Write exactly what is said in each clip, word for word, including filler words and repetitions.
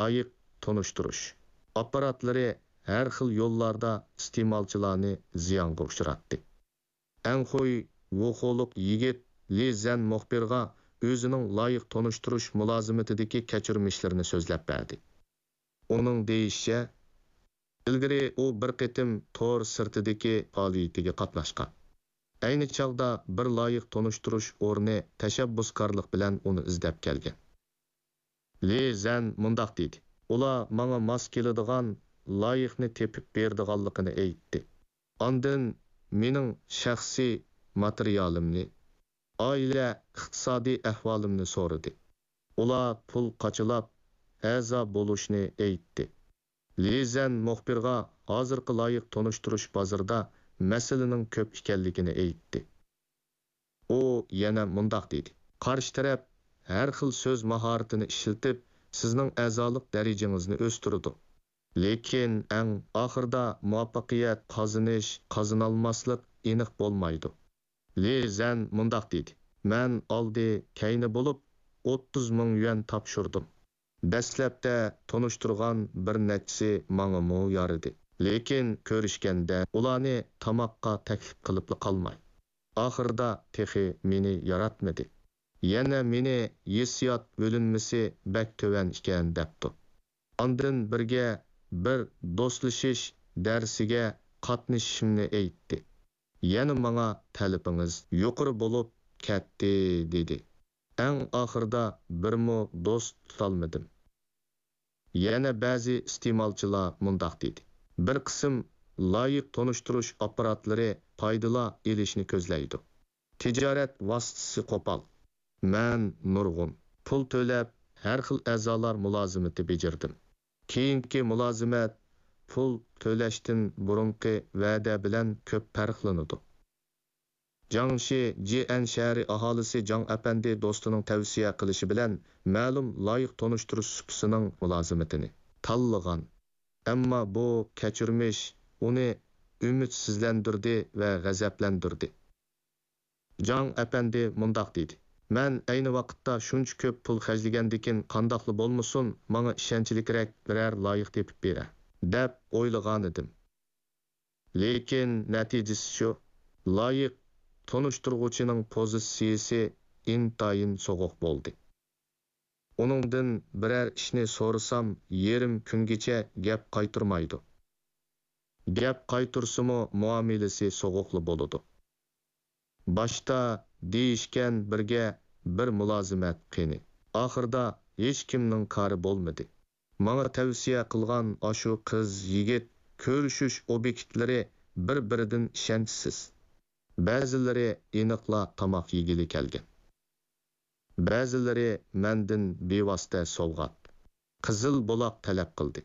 لايىق تونۇشتۇرۇش ئاپپاراتلىرى ھەر خىل يوللاردا ئىستېمالچىلارنى زىيانغا ئۇچراتتى. ئەڭخۇي ۋۇخولۇق يىگىت لى زەن مۇخبىرغا ئۆزىنىڭ لايىق تونۇشتۇرۇش مۇلازىمىتىدىكى كەچۈرمىشلىرىنى سۆزلەپ بەردى. ئۇنىڭ دېيىشىچە، ئىلگىرى ئۇ بىر قېتىم تور سىرتىدىكى پائالىيىتىگە قاتناشقان. ئەينى چاغدا بىر لايىق تونۇشتۇرۇش ئورنى تەشەببۇسكارلىق بىلەن ئۇنى ئىزدەپ كەلگەن. لى زەن مۇنداق دېدى: «ئۇلار ماڭا ماس كېلىدىغان لايىقنى تېپىپ بېرىدىغانلىقىنى ئېيتتى. ئاندىن مېنىڭ شەخسىي ماتېرىيالىمنى، ئائىلە ئىقتىسادىي ئەھۋالىمنى سورىدى. ئۇلار پۇل قاچىلاپ، ئەزا بولۇشنى ئېيتتى.» لى زەن مۇخبىرغا ھازىرقى لايىق تونۇشتۇرۇش بازىرىدا مەسىلىنىڭ كۆپ ئىكەنلىكىنى ئېيتتى. ئۇ يەنە مۇنداق دېدى: «قارشى تەرەپ ھەر خىل سۆز ماھارىتىنى ئىشلىتىپ، سىزنىڭ ئەزالىق دەرىجىڭىزنى ئۆستۈرىدۇ. لېكىن ئەڭ ئاخىرىدا مۇۋەپپەقىيەت قازىنىش، قازىنالماسلىق ئېنىق بولمايدۇ.» لى زەن مۇنداق دېدى: «مەن ئالدى كەينى بولۇپ، ئوتتۇز مىڭ يۈەن تاپشۇردۇم. دەسلەپتە تونۇشتۇرغان بىر نەچچىسى ماڭىمۇ يارىدى. لېكىن كۆرۈشكەندە ئۇلارنى تاماققا تەكلىپ قىلىپلا قالماي، ئاخىرىدا تېخى مېنى ياراتمىدى. يەنە مېنى ھېسسىيات بۆلۈنمىسى بەك تۆۋەن ئىكەن دەپتۇ. ئاندىن بىرگە بىر دوستلىشىش دەرسىگە قاتنىشىشىمنى ئېيتتى. يەنە ماڭا تەلىپىڭىز يۇقىرى بولۇپ كەتتى» دېدى. ئەڭ ئاخىرىدا بىرمۇ دوست تۇتالمىدىم. يەنە بەزى ئىستېمالچىلار مۇنداق دېدى: «بىر قىسىم لايىق تونۇشتۇرۇش ئاپپاراتلىرى پايدىلا ئېلىشنى كۆزلەيدۇ. تىجارەت ۋاسىتىسى قوپال. مەن نۇرغۇن پۇل تۆلەپ، ھەر خىل ئەزالار مۇلازىمىتى بېجىردىم. كېيىنكى مۇلازىمەت پۇل تۆلەشتىن بۇرۇنقى ۋەدە بىلەن كۆپ پەرقلىنىدۇ.» جاڭشى جيەن شەھىرى ئاھالىسى جاڭ ئەپەندى دوستىنىڭ تەۋسىيە قىلىشى بىلەن مەلۇم لايىق تونۇشتۇرۇش سۇپىسىنىڭ مۇلازىمىتىنى تاللىغان. ئەمما بۇ كەچۈرمىش ئۇنى ئۈمىدسىزلەندۈردى ۋە غەزەپلەندۈردى. جاڭ ئەپەندى مۇنداق دېدى: «مەن ئەينى ۋاقىتتا شۇنچە كۆپ پۇل خەجلىگەندىكىن، قانداقلا بولمىسۇن، ماڭا ئىشەنچلىكرەك بىرەر لايىق تېپىپ بېرە، دەپ ئويلىغانىدىم. لېكىن نەتىجىسى شۇ، لايىق تونۇشتۇرغۇچىنىڭ پوزىتسىيىسى ئىنتايىن سوغۇق بولدى. ئۇنىڭدىن بىرەر ئىشنى سورىسام، يېرىم كۈنگىچە گەپ قايتۇرمايدۇ. گەپ قايتۇرسىمۇ، مۇئامىلىسى سوغۇقلا بولىدۇ. باشتا دېيىشكەن بىرگە بىر مۇلازىمەت قېنى. ئاخىرىدا ھېچكىمنىڭ كارى بولمىدى. ماڭا تەۋسىيە قىلغان ئاشۇ قىز-يىگىت كۆرۈشۈش ئوبيېكتلىرى بىر-بىرىدىن ئىشەنچسىز. بەزىلىرى ئېنىقلا تاماق يېگىلى كەلگەن. بەزىلىرى مەندىن بىۋاسىتە سوۋغات، قىزىل بولاق تەلەپ قىلدى.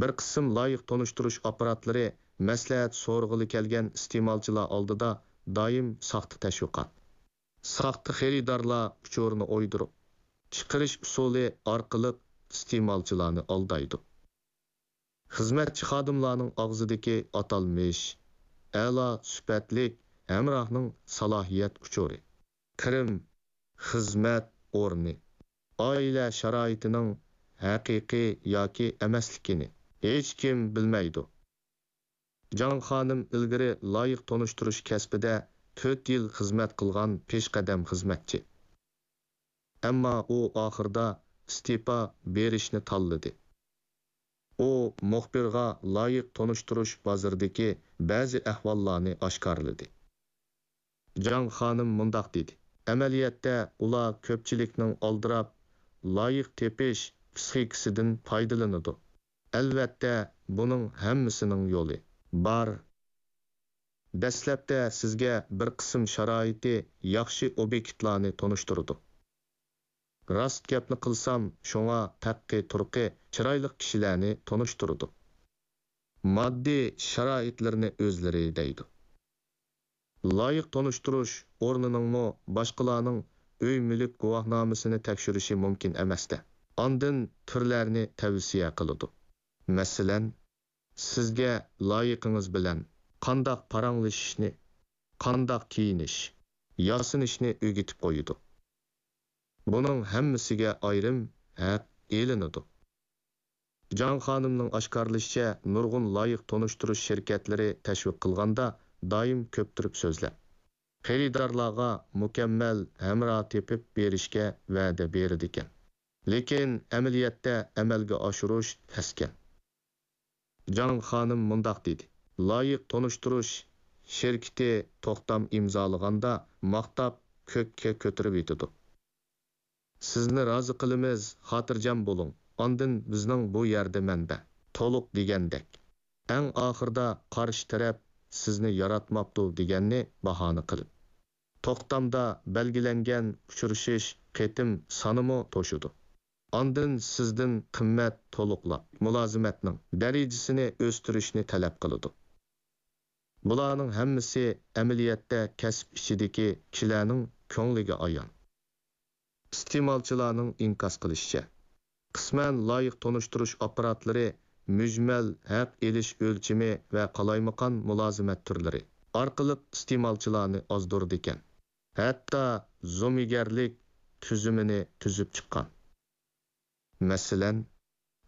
بىر قىسىم لايىق تونۇشتۇرۇش ئاپپاراتلىرى مەسلىھەت سورىغىلى كەلگەن ئىستېمالچىلار ئالدىدا دائىم ساختا تەشۋىقات، ساختا خېرىدارلار ئۇچۇرىنى ئويدۇرۇپ، چىقىرىش ئۇسۇلى ئارقىلىق ئىستېمالچىلارنى ئالدايدۇ. خىزمەتچى خادىملارنىڭ ئاغزىدىكى ئاتالمىش، ئەلا سۈپەتلىك ھەمراھنىڭ سالاھىيەت ئۇچۇرى، كىرىم، خىزمەت ئورنى، ئائىلە شارائىتىنىڭ ھەقىقىي ياكى ئەمەسلىكىنى ھېچكىم بىلمەيدۇ. جاڭ خانىم ئىلگىرى لايىق تونۇشتۇرۇش كەسپىدە تۆت يىل خىزمەت قىلغان پېشقەدەم خىزمەتچى. ئەمما ئۇ ئاخىرىدا ئىستېپا بېرىشنى تاللىدى. ئۇ مۇخبىرغا لايىق تونۇشتۇرۇش بازىرىدىكى بەزى ئەھۋاللارنى ئاشكارىلىدى. جاڭ خانىم مۇنداق دېدى: «ئەمەلىيەتتە ئۇلار كۆپچىلىكنىڭ ئالدىراپ، لايىق تېپىش پىسخىكىسىدىن پايدىلىنىدۇ. ئەلۋەتتە، بۇنىڭ ھەممىسىنىڭ يولى بار. دەسلەپتە سىزگە بىر قىسىم شارائىتى ياخشى ئوبيېكتلارنى تونۇشتۇرىدۇ. راست گەپنى قىلسام، شۇڭا پەققى تۇرقى چىرايلىق كىشىلەرنى تونۇشتۇرىدۇ. ماددىي شارائىتلىرىنى ئۆزلىرى دەيدۇ.» لايىق تونۇشتۇرۇش ئورنىنىڭمۇ، باشقىلارنىڭ ئۆي-مۈلۈك گۇۋاھنامىسىنى تەكشۈرۈشى مۇمكىن ئەمەستە، ئاندىن تۈرلەرنى تەۋسىيە قىلىدۇ. مەسىلەن، سىزگە لايىقىڭىز بىلەن قانداق پاراڭلىشىشنى، قانداق كىيىنىش، ياسىنىشنى ئۆگىتىپ قويىدۇ. بۇنىڭ ھەممىسىگە ئايرىم ھەق ئېلىنىدۇ. جاڭ خانىمنىڭ ئاشكارىلىشىچە، نۇرغۇن لايىق تونۇشتۇرۇش شىركەتلىرى تەشۋىق قىلغاندا دائىم كۆپتۈرۈپ سۆزلەپ، خېرىدارلارغا مۇكەممەل ھەمراھ تېپىپ بېرىشكە ۋەدە بېرىدىكەن. لېكىن ئەمەلىيەتتە ئەمەلگە ئاشۇرۇش تەسكەن. جاڭ خانىم مۇنداق دېدى: «لايىق تونۇشتۇرۇش شىركىتى توختام ئىمزالىغاندا ماختاپ كۆككە كۆتۈرۈۋېتىدۇ. سىزنى رازى قىلىمىز، خاتىرجەم بولۇڭ، ئاندىن بىزنىڭ بۇ يەردە مەنبە تولۇق دېگەندەك. ئەڭ ئاخىرىدا قارشى تەرەپ سىزنى ياراتماپتۇ دېگەننى باھانە قىلىپ، توختامدا بەلگىلەنگەن ئۇچرىشىش قېتىم سانىمۇ توشىدۇ. ئاندىن سىزدىن قىممەت تولۇقلاپ، مۇلازىمەتنىڭ دەرىجىسىنى ئۆستۈرۈشنى تەلەپ قىلىدۇ. بۇلارنىڭ ھەممىسى ئەمەلىيەتتە كەسىپ ئىچىدىكى كىشىلەرنىڭ كۆڭلىگە ئايان.» ئىستېمالچىلارنىڭ ئىنكاس قىلىشىچە، قىسمەن لايىق تونۇشتۇرۇش ئاپپاراتلىرى مۈجمەل ھەق ئېلىش ئۆلچىمى ۋە قالايمىقان مۇلازىمەت تۈرلىرى ئارقىلىق ئىستېمالچىلارنى ئازدۇرىدىكەن. ھەتتا زومىگەرلىك تۈزۈمىنى تۈزۈپ چىققان. مەسىلەن،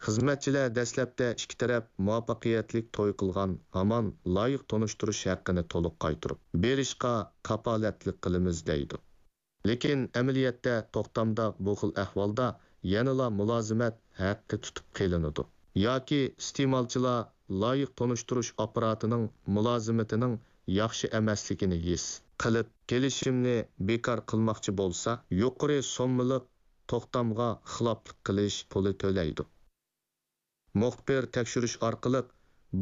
خىزمەتچىلەر دەسلەپتە ئىككى تەرەپ مۇۋەپپەقىيەتلىك توي قىلغان ھامان لايىق تونۇشتۇرۇش ھەققىنى تولۇق قايتۇرۇپ بېرىشقا كاپالەتلىك قىلىمىز دەيدۇ. لېكىن ئەمەلىيەتتە توختامدا بۇ خىل ئەھۋالدا يەنىلا مۇلازىمەت ھەققى تۇتۇپ قېلىنىدۇ ياكى ئىستېمالچىلار لايىق تونۇشتۇرۇش ئاپپاراتىنىڭ مۇلازىمىتىنىڭ ياخشى ئەمەسلىكىنى ھېس قىلىپ، كېلىشىمنى بىكار قىلماقچى بولسا، يۇقىرى سوممىلىق توختامغا خىلاپلىق قىلىش پۇلى تۆلەيدۇ. مۇخبىر تەكشۈرۈش ئارقىلىق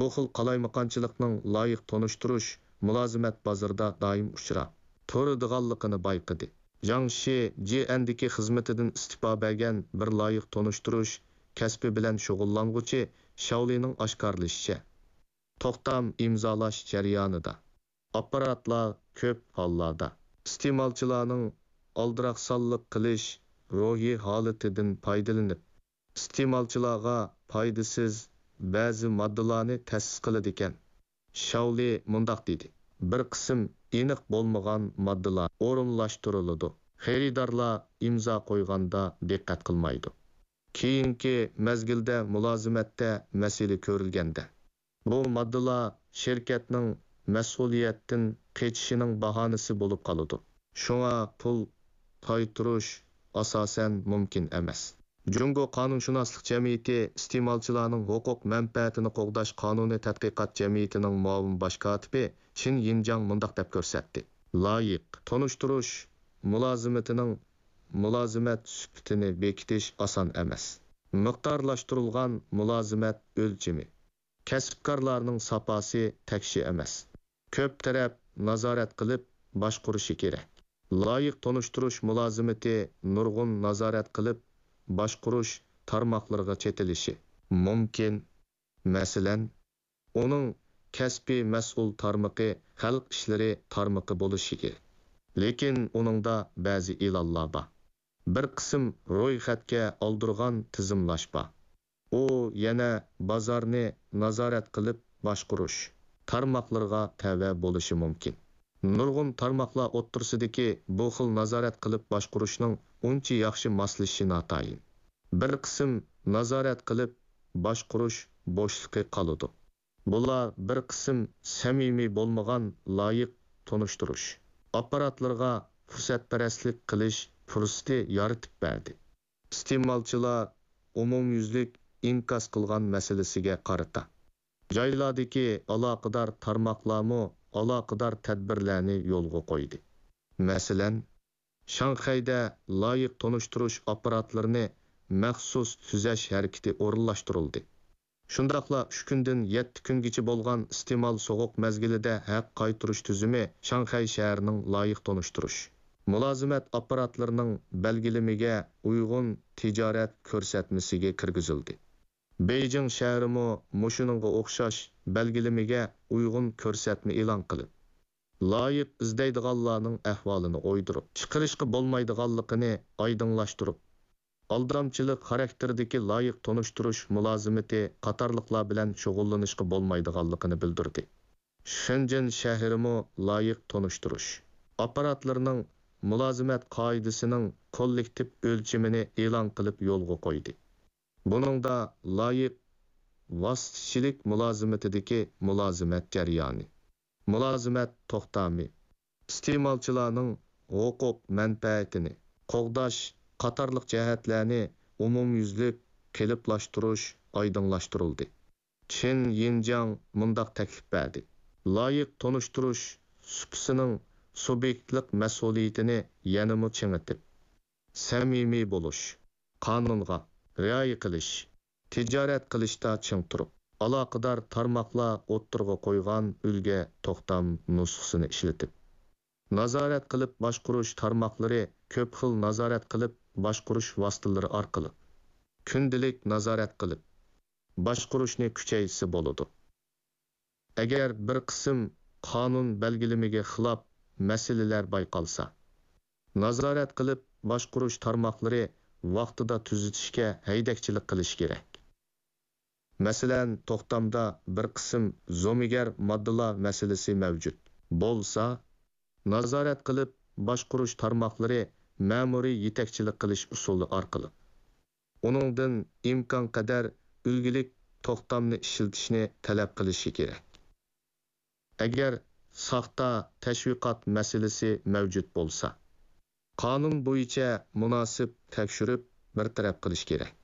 بۇ خىل قالايمىقانچىلىقنىڭ لايىق تونۇشتۇرۇش مۇلازىمەت بازىرىدا دائىم ئۇچراپ تۇرىدىغانلىقىنى بايقىدى. جاڭشى جيەندىكى خىزمىتىدىن ئىستېپا بەرگەن بىر لايىق تونۇشتۇرۇش كەسپى بىلەن شۇغۇللانغۇچى شاۋلىنىڭ ئاشكارىلىشىچە، توختام ئىمزالاش جەريانىدا ئاپپاراتلار كۆپ ھاللاردا ئىستېمالچىلارنىڭ ئالدىراقسانلىق قىلىش روھىي ھالىتىدىن پايدىلىنىپ، ئىستېمالچىلارغا پايدىسىز بەزى ماددىلارنى تەسىس قىلىدىكەن. شاۋلى مۇنداق دېدى: «بىر قىسىم ئېنىق بولمىغان ماددىلار ئورۇنلاشتۇرۇلىدۇ. خېرىدارلار ئىمزا قويغاندا دىققەت قىلمايدۇ. كېيىنكى مەزگىلدە مۇلازىمەتتە مەسىلە كۆرۈلگەندە، بۇ ماددىلار شىركەتنىڭ مەسئۇلىيەتتىن قېچىشىنىڭ باھانىسى بولۇپ قالىدۇ. شۇڭا پۇل قايتۇرۇش ئاساسەن مۇمكىن ئەمەس.» جۇڭگو قانۇنشۇناسلىق جەمئىيىتى ئىستېمالچىلارنىڭ ھوقۇق مەنپەئەتىنى قوغداش قانۇنىي تەتقىقات جەمئىيىتىنىڭ مۇئاۋىن باش كاتىپى چىن يىنجاڭ مۇنداق دەپ كۆرسەتتى: «لايىق تونۇشتۇرۇش مۇلازىمىتىنىڭ مۇلازىمەت سۈپىتىنى بېكىتىش ئاسان ئەمەس. مىقدارلاشتۇرۇلغان مۇلازىمەت ئۆلچىمى، كەسىپكارلارنىڭ ساپاسى تەكشى ئەمەس. كۆپ تەرەپ نازارەت قىلىپ باشقۇرۇشى كېرەك. لايىق تونۇشتۇرۇش مۇلازىمىتى نۇرغۇن نازارەت قىلىپ باشقۇرۇش تارماقلىرىغا چېتىلىشى مۇمكىن. مەسىلەن، ئۇنىڭ كەسپىي مەسئۇل تارمىقى خەلق ئىشلىرى تارمىقى بولۇشى كېرەك. لېكىن ئۇنىڭدا بەزى ئېلانلار بار. بىر قىسىم رويخەتكە ئالدۇرغان تىزىملاش بار. ئۇ يەنە بازارنى نازارەت قىلىپ باشقۇرۇش تارماقلىرىغا تەۋە بولۇشى مۇمكىن. نۇرغۇن تارماقلار ئوتتۇرىسىدىكى بۇ خىل نازارەت قىلىپ باشقۇرۇشنىڭ ئۇنچە ياخشى ماسلىشىشى ناتايىن. بىر قىسىم نازارەت قىلىپ باشقۇرۇش بوشلۇقى قالىدۇ. بۇلار بىر قىسىم سەمىمىي بولمىغان لايىق تونۇشتۇرۇش ئاپپاراتلىرىغا پۇرسەتپەرەسلىك قىلىش پۇرسىتى يارىتىپ بەردى. ئىستېمالچىلار ئومۇميۈزلۈك ئىنكاس قىلغان مەسىلىسىگە قارىتا، جايلاردىكى ئالاقىدار تارماقلارمۇ ئالاقىدار تەدبىرلەرنى يولغا قويدى. مەسىلەن، شاڭخەيدە لايىق تونۇشتۇرۇش ئاپپاراتلىرىنى مەخسۇس تۈزەش ھەرىكىتى ئورۇنلاشتۇرۇلدى. شۇنداقلا ئۈچ كۈندىن يەتتە كۈنگىچە بولغان ئىستېمال سوغۇق مەزگىلىدە ھەق قايتۇرۇش تۈزۈمى شاڭخەي شەھىرىنىڭ لايىق تونۇشتۇرۇش مۇلازىمەت ئاپپاراتلىرىنىڭ بەلگىلىمىگە ئۇيغۇن تىجارەت كۆرسەتمىسىگە كىرگۈزۈلدى. بېيجىڭ شەھىرىمۇ مۇشۇنىڭغا ئوخشاش بەلگىلىمىگە ئۇيغۇن كۆرسەتمە ئېلان قىلىپ، لايىق ئىزدەيدىغانلارنىڭ ئەھۋالىنى ئويدۇرۇپ چىقىرىشقا بولمايدىغانلىقىنى ئايدىڭلاشتۇرۇپ، ئالدامچىلىق خاراكتېرىدىكى لايىق تونۇشتۇرۇش مۇلازىمىتى قاتارلىقلار بىلەن شۇغۇللىنىشقا بولمايدىغانلىقىنى بىلدۈردى. شېنجېن شەھىرىمۇ لايىق تونۇشتۇرۇش ئاپپاراتلىرىنىڭ مۇلازىمەت قائىدىسىنىڭ كوللېكتىپ ئۆلچىمىنى ئېلان قىلىپ يولغا قويدى. بۇنىڭدا لايىق ۋاسىتىچىلىك مۇلازىمىتىدىكى مۇلازىمەت جەريانى، مۇلازىمەت توختامى، ئىستېمالچىلارنىڭ ھوقۇق مەنپەئەتىنى قوغداش قاتارلىق جەھەتلەرنى ئومۇميۈزلۈك قېلىپلاشتۇرۇش ئايدىڭلاشتۇرۇلدى. چېن يىنجياڭ مۇنداق تەكلىپ بەردى: لايىق تونۇشتۇرۇش سۇپىسىنىڭ سۇبيېكتلىق مەسئۇلىيىتىنى يەنىمۇ چىڭىتىپ، سەمىمىي بولۇش، قانۇنغا رىئايە قىلىش، تىجارەت قىلىشتا چىڭ تۇرۇپ، ئالاقىدار تارماقلار ئوتتۇرىغا قويغان ئۈلگە توختام نۇسخىسىنى ئىشلىتىپ، نازارەت قىلىپ باشقۇرۇش تارماقلىرى كۆپ خىل نازارەت قىلىپ باشقۇرۇش ۋاسىتىلىرى ئارقىلىق كۈندىلىك نازارەت قىلىپ باشقۇرۇشنى كۈچەيتسە بولىدۇ. ئەگەر بىر قىسىم قانۇن بەلگىلىمىگە خىلاپ مەسىلىلەر بايقالسا، نازارەت قىلىپ باشقۇرۇش تارماقلىرى ۋاقتىدا تۈزىتىشكە ھەيدەكچىلىك قىلىشى كېرەك. مەسىلەن، توختامدا بىر قىسىم زومىگەر ماددىلار مەسىلىسى مەۋجۇت بولسا، نازارەت قىلىپ باشقۇرۇش تارماقلىرى مەمۇرىي يېتەكچىلىك قىلىش ئۇسۇلى ئارقىلىق ئۇنىڭدىن ئىمكانقەدەر ئۈلگىلىك توختامنى ئىشلىتىشنى تەلەپ قىلىشى كېرەك. ئەگەر ساختا تەشۋىقات مەسىلىسى مەۋجۇت بولسا، قانۇن بويىچە مۇناسىپ تەكشۈرۈپ بىر تەرەپ قىلىش كېرەك.